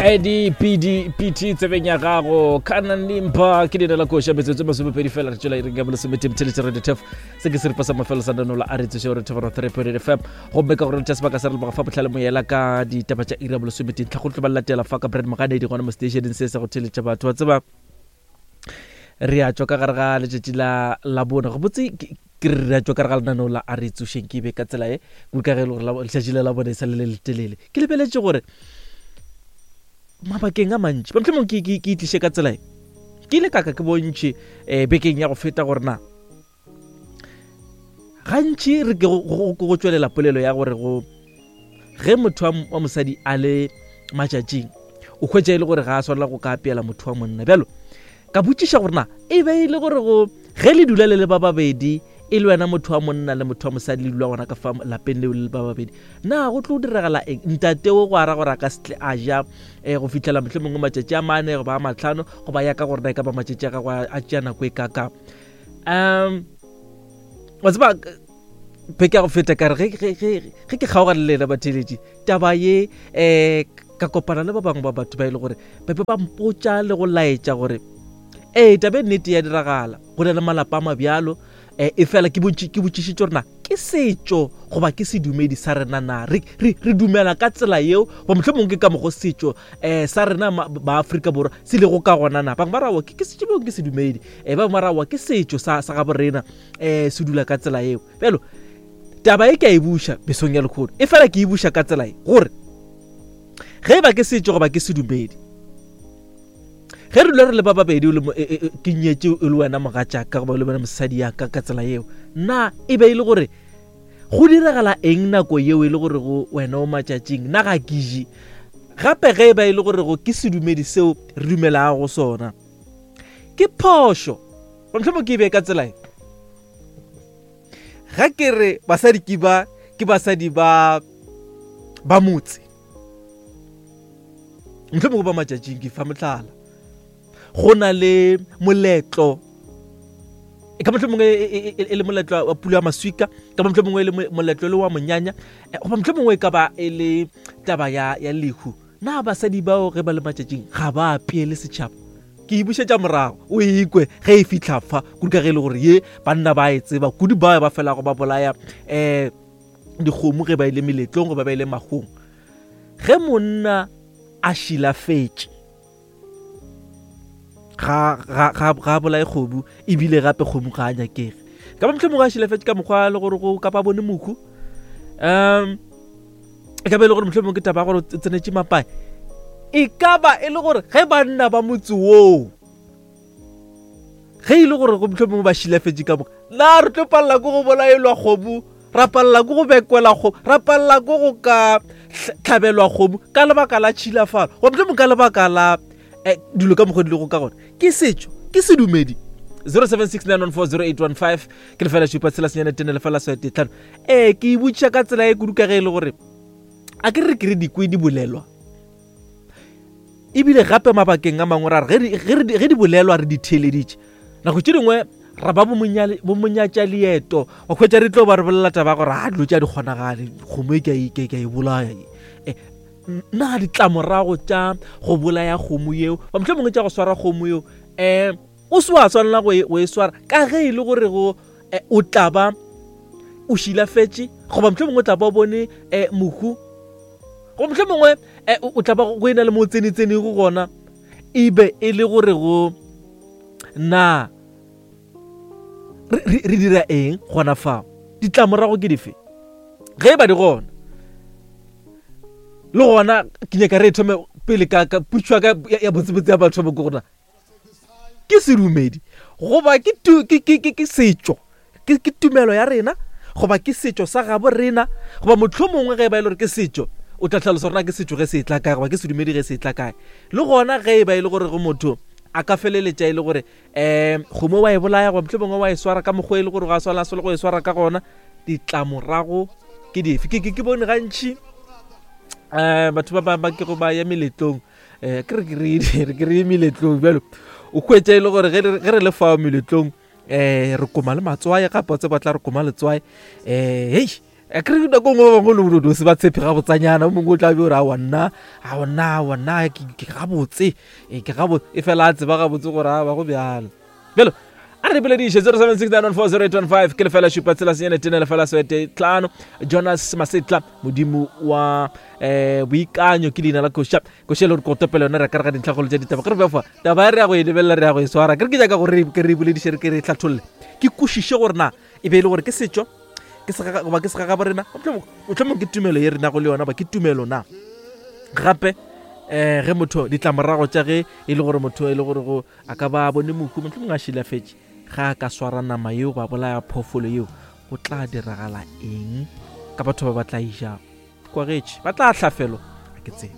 Idpdpt tsebeng ya gago kanan limpa ke dina la koša metsotso masomepedi fela re tšwela iring ya bolesomete mtheletše radio tef se ke seripa sa mafelo sa nanola a re tsoše gore thobano 3 fm gomme ka gore tša sebaka sa re leboga fa botlhale moyela ka ditaba tša iri ya bolesomete ntlha go tlo ba latela fa ka brand moganedi gona mo stationeng se sa go theletša batho wa tseba re a tšwa ka gare ga letšatši la labone gabotse ke re re a tšwa ka gare ga lenaneo la a re tsošeng ke be ka tsela e kudu ka ge e le gore letšatši la labone e sa le le letelele ke lebeletše gore mabakeng a mantši ba mohlomong ke ke itliše ka tsela e ke ile kaka ke bontšhe um bekeng ya go feta gore na gantši re ke go tšwelela polelo ya gore go ge motho wa mosadi a le matšatšing o hwetša e le gore ga a swanela go ka apeela motho wa monna bjalo ka botšiša gore na e be e le gore go ge le dula le le ba babedi e le wena motho wa monna le motho wa mosadi le dula gona ka fa lapeng leo le le ba babedi na go tlo diragala eng ntate o go ara gore a ka setle a ja um go fitlhela motlho mongwe matšatši a mane goba a matlhano goba ya ka gore na e ka ba matšatši a gago a tšea nako e kakang um wa tseba beke ya go feta kare ge ke kgaogane le ena batheletši taba ye um ka kopana le ba bangwe ba batho ba e le gore ba be ba mpotša le go laetša gore ee taba e nnete ya diragala go na le malapa a mabjalo um e fela ke botšišitše gore na ke setšo goba ke sedumedi sa rena na re, re, re dumela ka tsela yeo goba motlho mongwe ke ka mogo setšo um sa rena ba Afrika Borwa se lego ka gona na bangwe ba rawa ke setšo bong ke sedumedi um ba bangwe ba rawa ke setšo sa, sa gabo rena um se dula ka tsela yeo bjalo taba e ke a e buša mesong ya lekgono e fela ke e buša ka tsela e gore ge e ba ke setšo goba ke sedumedi ge re dula re le ba babedi e, e, e, ke nyetše e le wena mogatšaka goba le wena mosadi yaka ka tsela yeo na e be e le gore go diragala eng nako yeo e le gore go wena o matšatšing na ga ke je gape ge e ba e le gore go ke sedumedi seo re dumelago go sona ke phošo mohlomong ke e be ka tsela e ga ke re basadi ke ba ke basadi ba ba motse mohlomongwe ba matšatšing ke fa mohlala go na le moletlo e ka mohlomongwe e, e, e, e le moletlo wa pulo ya maswika ka mohlomongwe e le moletlo le wa monyanya eh, goba mohlomongwe e ka ba e le taba ya, ya lehu na basadi bao ge ba le matšatšing ga ba apeele setšhaba ke e bušetša morago o e ikwe ge e fitlha fa kudu ka ge e le gore ye banna ba e tseba kudu bao ba felago ba bolaya um dikgomo ge ba ile meletlong goba ba ile magong ge monna a šilafetše ga ga ga ga bolaye kgomo ebile gape kgomo ga a nyakege ka ba mohlomongwe a šilafetše ka mokgwa le gore go kapa bone mokhu um e ka ba e le gore mohlomongwe ke taba ya gore o tsenetše mapae e ka ba e le gore ge banna ba motse woo ge e le gore go mohlomongwe ba šilafetše ka moka na re tlo palela ko go bolaelwa kgomo ra palela ko go bekwela kgomo ra palela ko go ka tlhabelwa kgomo ka lebaka la tšhilafalo goba mohlomongwe ka lebaka la eh, dilo ka mokgwa di lego ka gona ke setšo ke sedumedi 0769140815 ke lefela šupa tshela senyane tene lefela swete tlhano ee ke e botšiša ka tsela e kudu ka ge e le gore a ke re ke re dikwe di bolelwa ebile gape mabakeng a mangwe ra re ge di bolelwa re di theeleditše nako tše dingwe ra ba bomonyatša leeto wa kgwetsa re tlo ba re bolela taba gore a dilo tša di kgonagale kgomo e ke e bolaya e, na ditlamorago tša go bolaya kgomo yeo ba motlho mongwe tša go swara kgomo yeo um o se wa swanela go e, e swara ka ge e le gore go eh, o tla ba o šilafetše goba motlho mongwe o tla ba o bone um mohu Go mohlomongwe eh, o tla ba go e na le mo tsenetsenego gona e be e le gore go na re dira eng gona fao ditlamorago ke dife ge e ba di gona le gona ke nyaka re thome pele ka putšwa ka ya botsebotse ya batho ba ko gona ke sedumedi goba ke, ke, ke, ke, ke setšo ke, ke tumelo ya rena goba ke setšo sa gabo rena goba mohlomongwe ge e ba e le gore ke setšo o tla hlalosa gore na ke setšo ge se etla kae goba ke sedumedi ge se etla kae le gona ge e ba e le gore go motho a ka feleletša e le gore um kgomo wa e bolaya goba mohlomongwe wa e swara ka mokgwa e le gore ga a swana a go e swara ka gona ditlamorago ke dife ke, ke, ke bone gantši um batho ba ba kego ba ya meletlong um ke re ke re ke re meletlong bjalo o hwetša e le gore ge re le fao meletlong um re koma le matswae gape o tseba tla re koma letswae um hei Akere nako nngwe ba bangwe le o se ba tshepe gabotsanyana, o mongwe o tla be o re aowa nna, aowa nna, aowa nna ke gabotse, ee ke gabotse, e fela a tseba gabotse gore a ba go bjalo. Bjalo a re bolediše 0769140815 ke lefela šupa tshela senyane tene lefela swete tlhano. Jonas Masetla modimo wa um boikanyo ke leina la koša koša e le gore kotopele yona re ka re ga dintlhakgolo tša ditaba ke re befa taba e re ya go e lebelela re ya go e swara ke re ke nyaka gore ke re bolediše re ke re hlatholle ke kwešiše gore na e be e le gore ke setšo ke se goba ke segagabo rena mohlomong ke tumelo ye re nago le yona ba ke tumelo na gape um ge motho ditlamorago tša ge e le gore motho e le gore go a ka ba bone mohu mohlomong a šilafetše ga a ka swara nama yeo ba bolaya phoofolo yeo go tla diragala eng ka batho ba ba tla ijago kwagetše ba tla hlafelwa a ke tsebe.